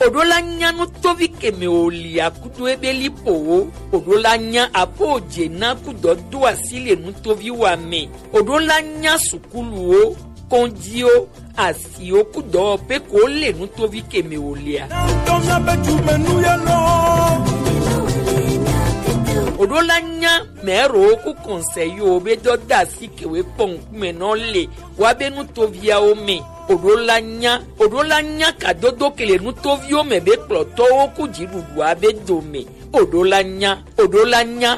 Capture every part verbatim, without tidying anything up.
Oɖo la nya nutovi keme o li akudo ebe li po wo. Oɖo la nya apo je na kudɔ do asi le nutovi wa me. Oɖo la nya sukulu wo, kɔnji wo, asi wo kudɔ pe ko le nutovi keme o lia. Oɖo la nya mɛro ku kɔnsɛyi wo be dɔ da asi kewe kpɔn kume nɔ le wa be nutoviawo me. Oɖo la nya, oɖo la nya kadodo kele nutoviwo me be kplɔtɔwo ku dziɖuɖua be dome. Oɖo la nya, oɖo la nya.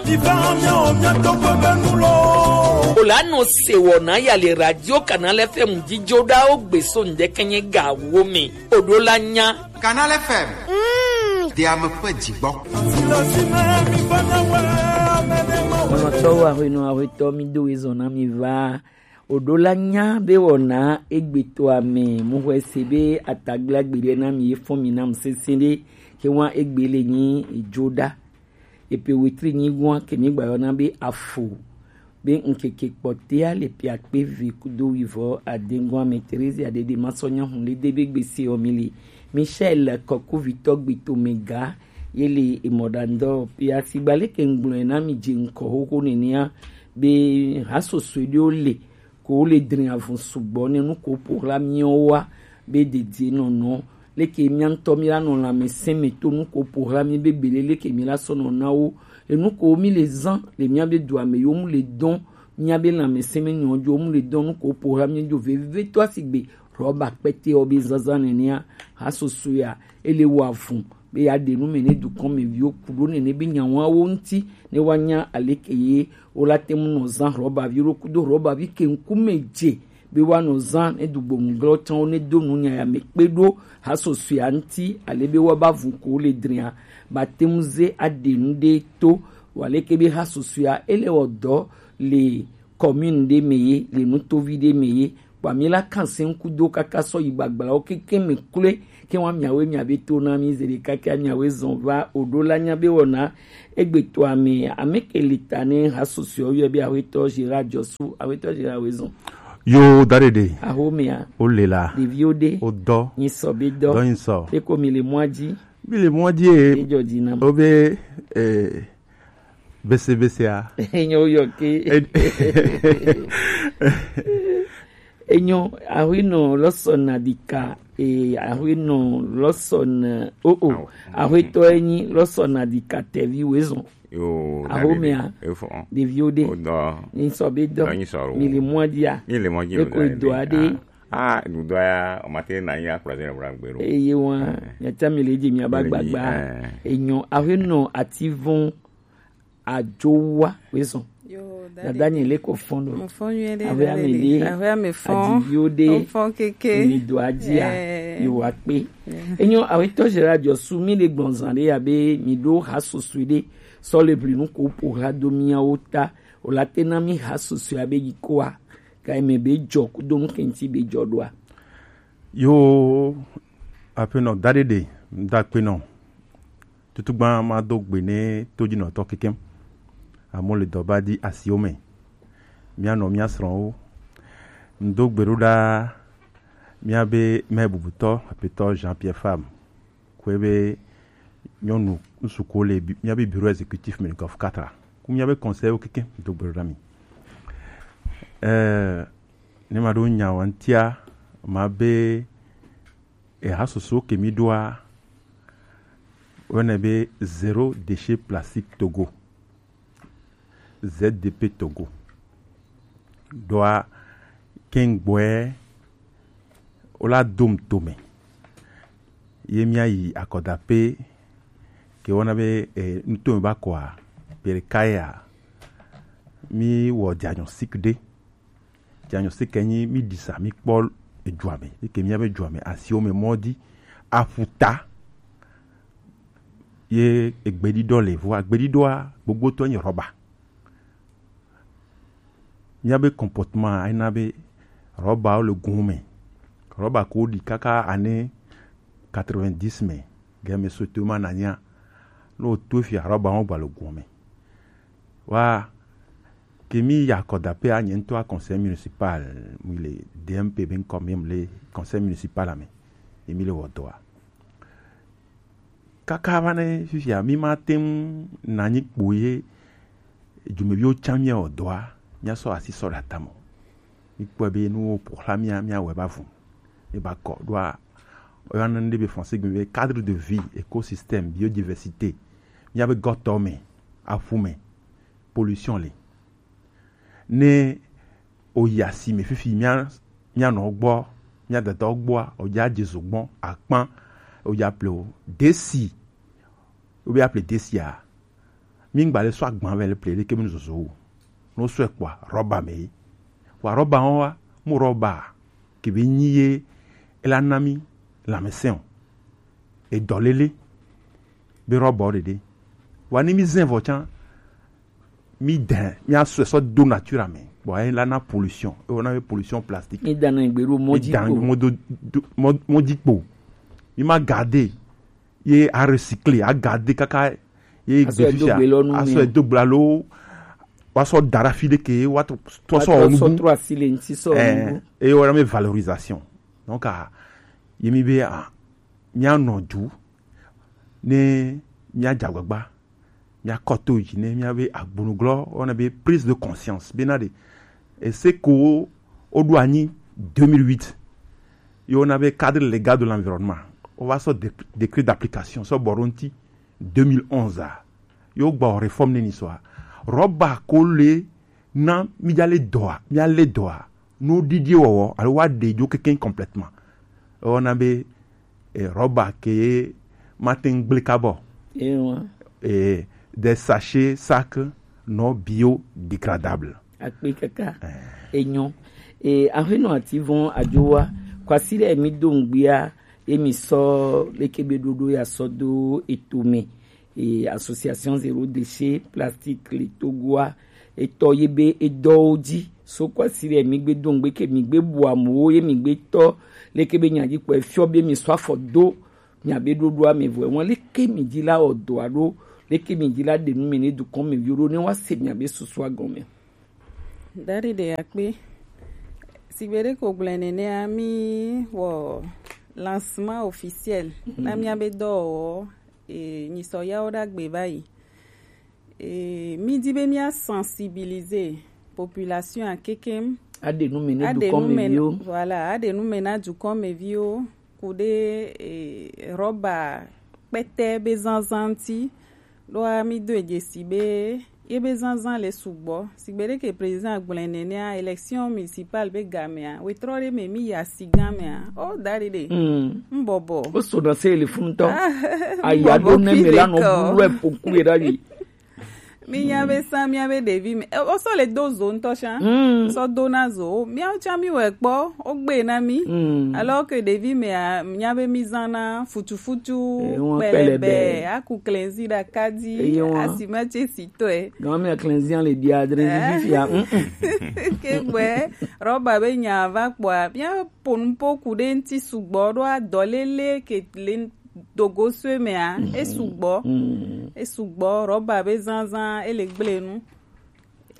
O la nɔ se wɔna ya le radio Canal F M dzidzo ɖawo gbe so ŋdɛkɛnyɛ gawo me. Oɖo la nya. Canal F M. Mm. De ame ƒe dzigbɔ. Lɔlɔ̃tɔwo, aƒenɔ, aƒetɔ, mi do ezɔ na mi va. Oɖo la nya be wɔna egbetɔa me, mu xɔe se be atagble agbe ɖe na mi, efɔ mi nam sese ɖe, ke wa egbe le nyi edzo ɖa. Epe wetri nyi gua ke mi gba yɔna be afo, be ŋkeke kpɔtea le piakpe ve kudo wivɔ ade gua me. Terezia ɖeɖe ma sɔ nya hun le de be gbese ɔ mi le. Michel Kɔkuvitɔ gbetome ga ye le emɔɖandɔ pia sigba leke ŋgblɔe na mi dze ŋkɔ xoxo nenea be hasosoe ɖewo le ko wo le drin avun sugbɔ ne nu ko ƒo xla miawo wa be dedie nɔnɔ leke mia ŋutɔ mi la nɔ lãmesẽ me to nu ko ƒo xla mi be gbele leke mi la sɔ nɔ na wo enu ko mi le zã le mia be dua me yo mu le dɔn mia be lãmesẽ me nyɔ jo mu le dɔn nu ko ƒo xla mi jo vevivetɔ asigbe rɔba kpɛtɛ ɔ be zazã nenea hasosoea ele wɔ avun be yeaɖe nu me ne dukɔmeviwo ku ɖo nene be nyawawo ŋuti ne woanya aleke ye wola te ŋu nɔ zã rɔbavi ɖo kudo rɔbavi ke ŋkume dze be woanɔ zã ne dugbonu glɔ tsãwo ne do nu nya ya me kpe ɖo hasosoea ŋuti ale be woaba vu ko le dria ba te ŋu ze aɖe nu ɖe to waleke be hasosoea ele wɔ dɔ le commune ɖe me ye le nutovi ɖe me ye kpa mi la kan se ŋku do kaka sɔ yi gbagblawo keke me kloe ke wa miawe miabe to na mi ze ɖeka ke miawe zɔn va oɖo la nya be wɔna egbe to ame ame ke li ta ne ha susue o yɔ be awetɔ Gérard Dzosu awetɔ Gérard we zɔn. Yo da ɖeɖe. Ahomea. O le la. Ɖeviwo ɖe. O dɔ. Nyi sɔ be dɔ. Dɔ nyi sɔ. Eko mi le mɔa dzi. Mi le mɔa dzi e. Ejɔ dzi na. O be eh, Bese bese a. Enyo yo ke. Enyo ahwino lɔsɔ na dika e ahwino lɔsɔ na o o ahwetɔ enyi lɔsɔ na dika tɛvi wezɔn. Yo ahomea ɖeviwo ɖe nisɔ be dɔ mi le mɔ dia mi le mɔ dia eko edo aɖe. Ah, dudu ya o ma te na ya kplɔ se na bra gbero. Eye wa nyata mi le dzi mi aba gbagba. Enyo ahwino ati vɔn. Ajowa wezɔn. Dada nye le ko fɔn do. Awe ame le. Awe ame fɔn. Adiviwo de. Fɔn keke. Mi do adia. Yo wa pe. Enyo awetɔ Gérard Dzosu mi le gbɔnzan de ya be mi do ha susu de. Sɔ le bli nu ko po ha do miawo ta. O la te na mi ha susu ya be yi ko a. Ka me be jɔ ku do nu kenti be jɔ do a. Yo apenɔ da de de da penɔ. Tutugba ma do gbe ne todzinɔtɔ kekem. Amewo le dɔ ba di asiwo me. Míanɔ mía srɔ̃wo. Ŋdo gbe ɖo ɖa míabe mɛ bubutɔ aƒetɔ Jean Pierre Fam. Kue be nyɔnu ŋsu ko le bi- míabe bureau exécutif me le Golf quatre. Ku míabe conseil wo kekem do gbe ɖo ɖa mi. Eh, ne ma ɖo nya wa ŋtia ma be eha soso ke mi ɖoa wene be zéro déchet plastique Togo. Z D P Togo. Ɖoa kengboe wola dom tome. Ye mía yi akɔdaƒe ke wɔna be eh, nutome ba kɔa ƒe ɖeka ya mi wɔ diagnostic ɖe. Diagnostic ke nyi mi ɖisa mi kpɔ edua me yi ke mía be dua me asiwo me mɔ di aƒuta. Ye egbeɖiɖɔ le vɔa gbeɖiɖɔa gbogbotɔ nye rɔba. Míabe comportement ena be rɔbawo le gun me. Rɔba ko ɖi kaka ane quatre-vingt-dix me game soto ma nanya. Ne woto fia rɔba wo gba le gun me. Wa ke mi ya kɔdaƒea nye ŋutɔ conseil municipal mi le D M P be ŋkɔ mi le conseil municipal me. ye mi le wɔ dɔa. Kaka va ne fifia, mi ma te ŋu na nyi kpo ye dumeviwo tsã mi wɔ dɔa, mi asɔ asi sɔ ɖe atame. Mi kpɔe be nuwo ƒo xlã mia, mia wɔe va vu. Mi ba kɔ ɖoa, oyɔna nu ɖe be français gbe be cadre de vie, écosystème, biodiversité. Mia be gɔtɔ me, aƒu me, pollution le. Ne oyi asime fifi, mia, mia nɔ gbɔ, mia dada gbɔa, odza dze zo gbɔ, akpan, odza ple o. Desi, obe aple desia, mi ŋgba le sɔ agban vɛ le ple ɖeke mi zozo o. No sɔ ekpɔa, rɔba me yi. Wa rɔba wɔn wa, mu rɔba, ke be nyi ye, ela na mi, lãmesẽ o. Edɔ lele, be rɔba o ɖeɖe. Wa ni mi zẽ vɔ tsã, mi dɛn, mi asɔe sɔ do nature me. Bon, e la na pollution. E wɔna be pollution plastique. Mi dan na gbe ɖo mɔ dzi kpo. Mɔ do, do, mɔ, mɔ dzi kpo. Mi ma garder. Ye a recycler, a garder kaka. Ye asɔ do gbe lɔ nu. Asɔ do gbe lɔ. Wa sɔ da ɖe afi ɖeke, wa trɔ, trɔ sɔ nu. Trɔ asi le ŋti sɔ. Eh, e wɔna be valorisation. Donc, ah, ye mi be, ah, mi anɔ du. Ne mi adza gbagba. Miakɔ to yi dzi ne miabe agbonuglɔ, wɔna be prise de conscience be na ɖe ese ko woɖo anyi deux mille huit, ye wɔna be cadre légal de l'environnement, wova sɔ dé-, décret d'application sɔ bɔ ɖo ŋti deux mille onze a, ye wogbɔ réforme ne ni sɔa, rɔba ko le na mi dza le dɔa, mia le dɔa, nu ɖiɖi wɔwɔ alo wa ɖe dzo kekeŋ complètement. Wɔna be, eh, rɔba ke mate ŋu gblẽ kabɔ. Ewa. Eh, des sachets, sacs non biodégradables. Akpe kaka. Eh. Enyo. Eh, aƒenɔ Ativɔn Adjowa, kwasi ɖe mi do ŋgbia, emi sɔ leke be ɖoɖo ya sɔ do eto me. E, Association Zéro Déchet Plastique le Togoa, etɔ ye be edɔwo dzi. So kwasi ɖe mi gbe do ŋgbe ke mi gbe bu amewo ye mi gbe tɔ leke be nya dzi kpɔ efiɔ be mi sɔ afɔ do miabe ɖoɖoa me vɔ. Wɔn leke mi dzi la wɔ dɔa ɖo, leke mi dzi la ɖe nu me ne dukɔn me viwo ɖo ne wa se miabe susua gɔme. Daɖi ɖe akpe. Sigbe ɖe ko gblẽ nenea, mi wɔ lancement officiel na miabe dɔwɔwɔ, e, nyisɔ yawo ɖagbe va yi. E, mi di be mia sensibiliser population a kekem. Aɖe nu me ne dukɔmeviwo. Voilà, aɖe nu me na dukɔmeviwo. Ku ɖe, e, rɔba kpɛtɛ be zanzan ŋti. Ɖoa mi do dzesi be ye be zanzan le sugbɔ. Sigbe ɖe ke président gblẽ nenea, élection municipale be gamea, wetrɔ ɖe me mi yi asi gamea. O da ɖi ɖe. Mm. Mbɔbɔ. O so na se le fun tɔ. Aya do ne me la no bulu e poku e da ɖi. Mi nya be sa, mia be ɖevi me. E, o so le do zo ŋtɔ sha. Mm. So do na zo. Mia cha mi we kpɔ, o gbe na mi. Mm. Alors que ɖevi me a, nya be mi zana futu futu, eh, wọn pẹlẹbẹ, pẹlẹbẹ, aku klɛnzi ɖaka dzi, eye wọn asimatse si tɔe. Gan mi klɛnzi le bia dre, eh, fifia. Mm, mm. Ke gbɛ, rɔba be nya va kpɔa, mia po nu po ku ɖe ŋti sugbɔ ɖo adɔ lele ke le dogo sue mea, mm, e sugbɔ. Mm. E sugbɔ, rɔba be zanzan, e le gble nu.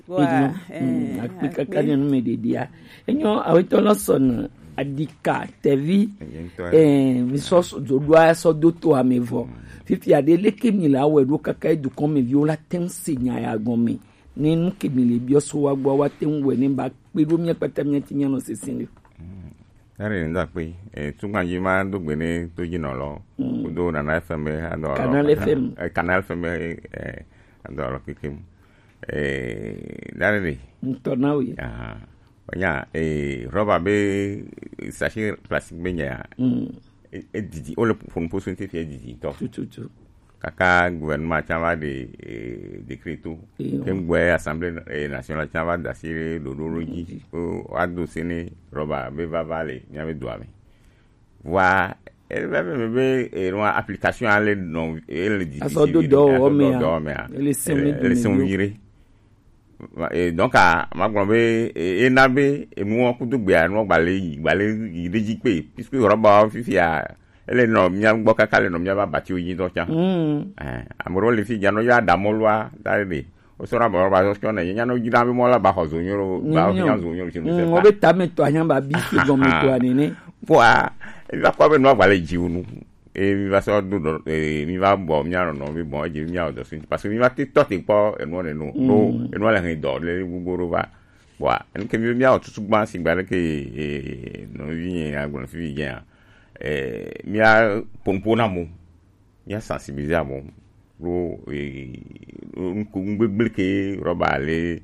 Wa, eh, akpe kaka nye nu me ɖeɖia. Enyo awetɔ lɔ sɔ na adika tevi. Eyi ŋutɔ. Eh, mi sɔ so do ɖoa sɔ do to ame vɔ. Mm. Fifia ɖe leke mi la wɛ ɖo kaka e dukɔn me viwo la te ŋu se nya ya gɔme. Ne nu ke mi le biɔ so wa gbɔ wa te ŋu wɛ ne ba kpe ɖo mia kpata mia ti mia nɔ sese ne. Mm. Eri ŋdɔ akpe. E, tugba dzi ma do gbe ne do dzi nɔ lɔ. Mm. Kudo Nana F M be adɔ lɔ. Canal F M. E, Canal F M be, e, adɔ lɔ kekem. Eh, dare de. Ŋutɔ na wo ye. Aha. Onya, eh, rɔba be sachet plastique be nya. Mm. E, e didi, o le ƒo nu ƒo so ŋuti fia didi tɔ. Tututu. Kaka gouvernement tsã va ɖe, eh, décret to. Eyo. Ke ŋgbɔe Assemblée, eh, nationale tsã va da asi ɖe ɖoɖo ɖo dzi. Dzi. O, woado se ne rɔba be vava le mía be dua me. Vɔa, ele be, be, be, e, nua application ale nɔ, ele di asɔ do dɔwɔwɔ mea, ele sɛn, ele sɛn nyuie ɖe. E, donc, a, ma gblɔ be, e, ena be, enuwo kudo gbea, nua gba le yi, gba le yi ɖe dzi kpe, puisque rɔba fifia, ele nɔ mía gbɔ kaka le nɔ mía ba batiwo yi dɔ tsã. Mm. Eh, ame ɖewo le fi dza nɔ yɔ adamɔlua, da ɖe. Wosɔna bɔ ba zɔ sɔnɛ, yenya no dzra be mɔ la ba xɔ zo nyoro, ba nya zo nyoro tsi nu se. Wo be tame tɔ anya ba bi se gɔme tɔ anene. Kpɔa, E mi va kpɔ be nua va le dzi wu nu. E mi va sɔ do dɔ, e mi va bɔ mia nɔ nɔ mi bɔ edzi mia wɔ dɔ si, parce que mi va te tɔ te kpɔ enua le nu. No, enua le hɛn dɔ le gbogbo ɖo va. Bɔa, enu ke mi be mia wɔ tutu gban si gba ɖe ke, e, nɔvi nye agblɔ fi vi dze ya. E, mia ponpo na mo. Mia sensibiliser amewo ɖo, eh, ŋku ŋgbegble ke rɔba le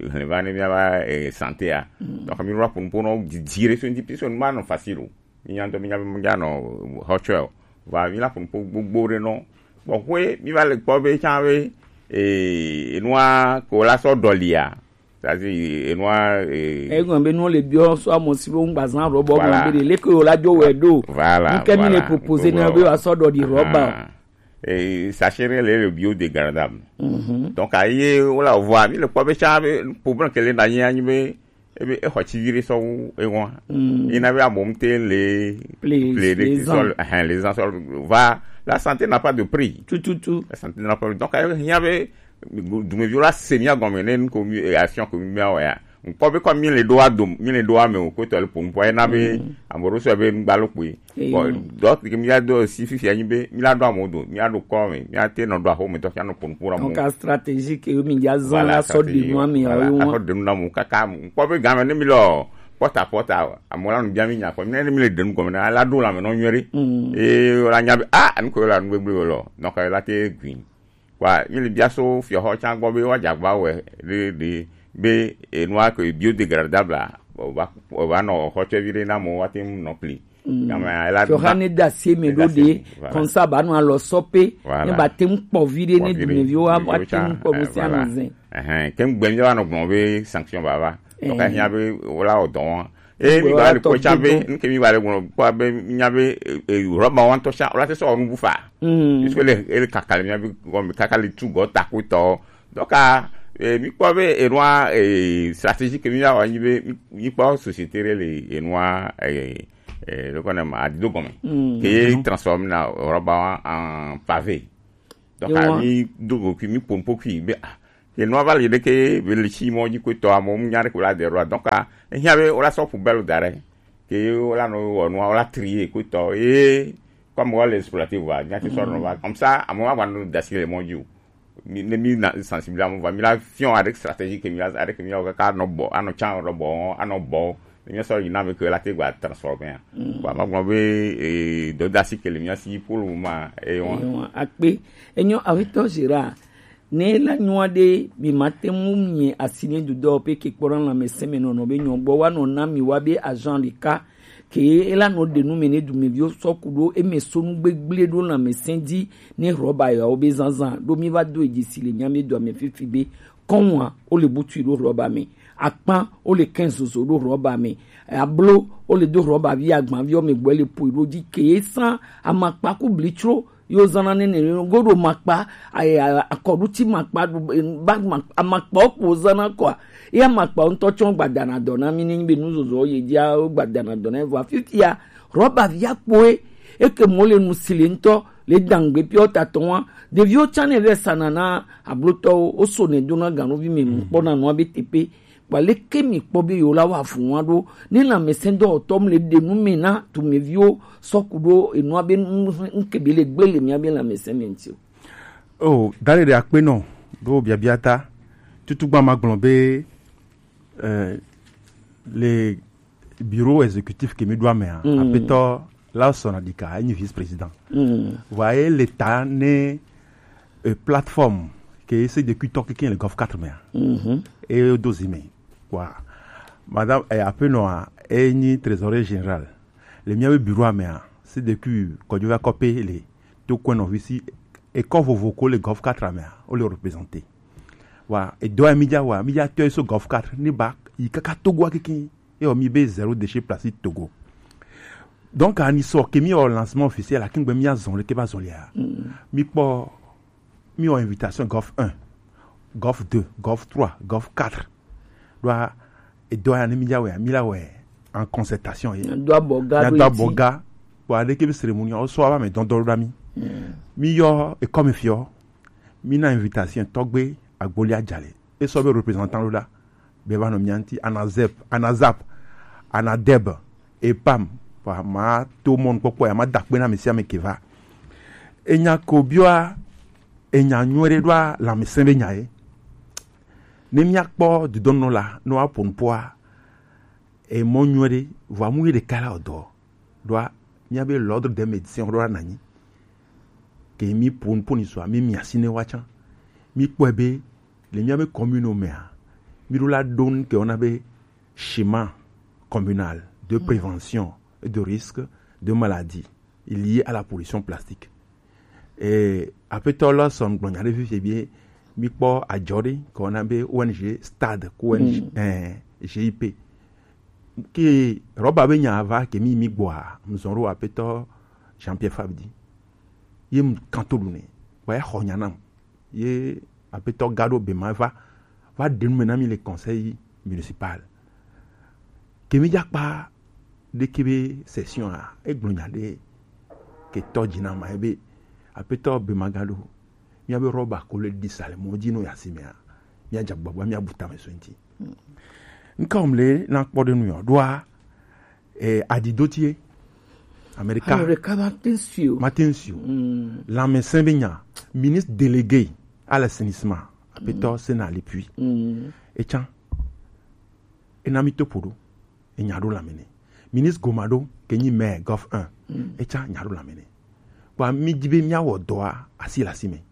hlẽ va ne miava, eh, santé a. Donc mi rɔba ƒo nuƒo nɔ didi ɖe so ŋuti, puisque nu ma nɔ facile o. Mi nya ŋutɔ mi nya be mi dza nɔ hɔtsɔe o. Va mi la ƒo nuƒo gbogbo ɖe nɔ. Bɔ ƒe mi va le kpɔ be tsã be, eh, enua ko la sɔ ɖɔlia. C'est-à-dire, enua, eh, Egɔn be nu le biɔ so amo si bo ŋgba zan rɔba. Voilà. Gɔn be de leke yo la jo we do. Voilà, nuke mi le voilà. Proposer na be wa sɔ dɔ di rɔba. Ah. Eh, sachet le, le biodégradable. Donc aye wala voa mi le kpɔ be tsã be problème ke le na nya nyi be ebe exɔ tsi vi ɖe sɔ wu ewa. Ina be amo mte le Play, play de les sol, hein, les ans sol. Va, la santé n'a pas de prix. Tout, tout, tout. La santé n'a pas de prix. Donc aye nya be dumeviwo la se mia gɔme ne nu ko mi, eh, action ko mi mia wɔ ya. Ŋkpɔ be kɔ mi le ɖo ado, mi le ɖo ame o ko tɔ le pon pɔ ena be ame ɖo sɔ be ŋgba lo kpoe. Bon, donc ke mi la do si fifia nyi be mi la ɖo ame do, mi la ɖo kɔ me, mi la te nɔ ɖo aho me tɔ fia nɔ pon pon amo. Donc stratégie ke mi ja zan la sɔ de nu ame o. Voilà, akɔ de nu na mo kaka ŋkpɔ be game ne mi lɔ pɔta pɔta amo la nu bia mi nya kɔ ne mi le de nu gɔme na la ɖo la me nɔ nyuie ɖe. E la nya be ah anu ko la nu gbegble lɔ. Donc la te gui. Kpa mi le bia so fiɔxɔ tsã gbɔ be woadze agba wɔe ɖe ɖe be enua ke biodégradable a, wòva wòva nɔ xɔtsɔvi ɖe na amewo woate ŋu nɔ pli. Fiɔxa ne da asi eme ɖo ɖe, voilà. Comme ça ba nɔ alɔ sɔ pe. Voilà. Ne ba te ŋu kpɔ vi ɖe ne dumeviwo wa te ŋu kpɔ nu sia nu zɛ. Ke ŋgbe mi va nɔ gblɔ be sanction ba va. Donc ahiã be wola wɔ dɔ wɔn. E mi gba le kpɔ tsa be nuke mi gba le gblɔ kpɔ be nya be rɔba wa ŋutɔ tsa wola te sɔ wɔ nubu fa. Puisque ele ele kaka le mia be gɔme kaka le tu gɔ ta ko tɔ. Donc a e mi kpɔ be enua e stratégie ke mi ya wa nyi be mi kpɔ société ɖe le enua e e le kɔ ne ma adido gɔme ke ye transforme na rɔba wa en pavé. Donc a mi do go kui mi pon po kui be a ke nua va li ɖeke be le tsi mɔ dzi ko tɔ amewo nya ɖe ko la de ɖoa. Donc a ehiã be wola sɔ poubelle da ɖe ke wola nɔ wɔ nua wola trier ko tɔ ye comme wola exploiter va nya ti sɔ nɔ va comme ça amewo va nɔ dasi le mɔ dzi o. Ne mi na sensibiliser amewo va mi la fiɔ avec stratégie ke mi la avec mi la kaka nɔ bɔ anɔ tsa nɔ bɔ anɔ bɔ. Míasɔ yi na be ke la te gba transformer a. Bon, ma gblɔ be eh, dɔdasi ke le mía si pour le moment. Ewa akpe. Enyo awetɔ Gérard, ne la nyɔa ɖe mi ma te mu mi asi ne dudɔ pe ke kpɔna lãmesẽ me nɔnɔ be nyɔ gbɔ wa nɔ na mi wa be agent ɖeka ke ela nɔ ɖe nu me ne dumeviwo sɔ ku ɖo eme so nu gbegble ɖo lãmesẽ dzi ne rɔba yawo be zazã ɖo mi va do edzi si le mía mi do ame fifi be kɔnwa wo le butu ɖo rɔba me, akpan wo le kɛn zozo ɖo rɔba me, ablo wo le do rɔba vi agban vi ɔme gbɔ le poi ɖo dzi ke san amakpa ku blitsro yo zana nene goɖo makpa akɔɖuti makpa ba amakpa wo kpo zana kɔa ya makpa ŋutɔ tsɔ gbadana dɔ na mi ne be nuzozo ye dzia gbadana dɔ na vɔ fifia rɔba vi akpoe eke mo le nu si le ŋutɔ le dangbe piɔ tatɔ wa ɖeviwo tsã ne vɛ sana na ablotɔwo wo so ne dona ganuvi me mu kpɔna nua be tepe kpa leke mi kpɔ be yewo la wa fu wa ɖo ne lãmesẽ dɔwɔtɔ mu le ɖe nu me na tumeviwo sɔ ku ɖo enua be ŋkebe le gbe le mía be lãmesẽ me ŋuti o. Oh, dale ɖe akpe nɔ ɖo biabia ta tutugba ma gblɔ be eh, le bureau exécutif ke mi ɖo amea apetɔ la sɔna ɖika enyi vice président. Vɔa ye le ta ne eh, plateforme ke se de kuitɔ keke le golf quatre mea e do zi me wa madame eh, apenɔa enyi trésorier général le miabe bureau amea se de kui kɔdjova kɔpe le to kɔe nɔvi si ekɔ vovo ko le golf quatre amea o le représenter. Wa edɔ ya mi dza wa mi dza tɔ so golf quatre ne ba yi kaka Togo keke ye wa mi be zéro déchet plastique Togo. Donc ani sɔ ke mi wɔ lancement officiel akengbe mi azɔn le ke ba zɔn le ya mi kpɔ mi wɔ invitation golf un, golf deux, golf trois, golf quatre. Ɖoa edɔ ya ne mi dza wɛ mi la wɛ en concertation ye do abɔ ga do abɔ ga. Wa ɖeke be cérémonie o sɔ aba me dɔn dɔ ɖa mi mi yɔ ekɔ mi fiɔ mi na invitation tɔgbe agboli ajale e sɔ be représentant ɖo ɖa be va nɔ mia ŋuti anazep anazap anadeb epam Vɔ ma to mɔnukpɔkpɔ ya ma da kpe na ame sia ame ke va. Enya ko biɔa, enya nyuie ɖe ɖoa lãmesẽ be nya ye. Ne míakpɔ dudɔnɔ la, ne woaƒo nu ƒoa, emɔ nyuie ɖe, vɔa mu ye ɖeka la wòdɔ ɖoa, míabe l'ordre des médecins ɖoa nanyi. Ke mi ƒo nu ƒo ni sua, mi mi asi ne wa tsã. Mi kpɔe be le míabe commune mea, mi ɖo la ɖo nu ke wona be schéma communal de prévention et de risque de maladie lié à la pollution plastique. Et aƒetɔ Lawson gblɔ nya ɖe fifie be mi kpɔ adzɔ ɖe ke wona be O N G stade ko O N G, eh, G I P. Ke rɔba be nya va ke mi mi gbɔa, mzɔn ɖo aƒetɔ Jean-Pierre Fabdi. Ye m kan to ɖu nɛ. Wa ya xɔ nya nam. Ye aƒetɔ Gado Bema va, va ɖe nu me na mi le conseil municipal. Ke mi dza kpa ɖeke be session a, egblɔ nya ɖe ke tɔ dzi na ma ebe aƒetɔ Bema Gado, míabe rɔba ko le ɖi sa le mɔ dzi no ya si mea, míadze agbagba míabu tame so ŋuti. Ŋka wòm le na kpɔ ɖe nu yɔ ɖoa, eh, adidotie Amerika. Amerika mate ŋu si o. Mate ŋu si o. Lãmesẽ be nya, ministre délégué à l'assainissement, aƒetɔ Sena Lepuix. Etsã, ena mi to ƒo ɖo, enya ɖo lãme nɛ. Ministre Gomado ke nyi maire Gulf un, etsã nya ɖo lãme nɛ. Kpɔa mi di be míawɔ dɔa asi le asi me.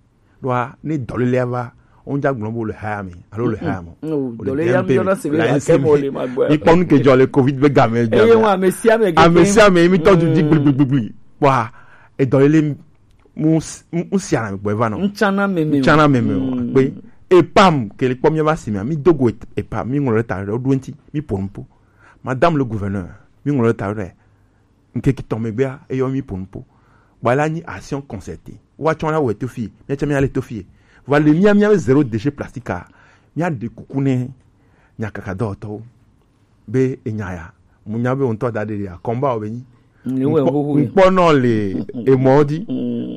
Ɖoa ne dɔlélea va, wonja gblɔ be wole haya me alo le haya me. Dɔlélea mi yɔna se be la kɛ mɔ le ma gbɔ. Mi kpɔ nu ke dzɔ le covid be game dzɔ. Eye wa ame sia ame gege. Ame sia ame mi tɔ du di gbligbligbligli. Kpɔa edɔlélé mu mu sia na gbɔ eva nɔ. Ntsana meme. Ntsana meme o. Kpe epam ke le kpɔ mi va si me, mi dogo epam, mi ŋlɔ ta ɖo ɖo ŋti, mi ƒo nu ƒo. Madame le gouverneur, mi ŋlɔ ta ɖo. Ŋkeke tɔn megbea, eyɔ mi ƒo nu ƒo. Bua la nyi action concertée. Woatsɔ la wɔ to fie, míatsɔ míale to fie. Vɔ le mía míabe zéro déchet plastique a, míaɖe kuku ne nyakaka dɔwɔtɔwo be enya ya, mu nya be ŋutɔ da ɖe ya, kɔmba wo be nyi. Ŋkpɔ nɔ le emɔ di,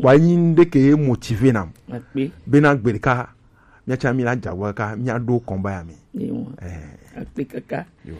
bua nyi ŋɖe ke motivé nam. Be na gbe ɖeka, míatsɔ mi la dzagbɔ ka, míaɖo kɔmba ya me. Eh. Akpe kaka. Yo.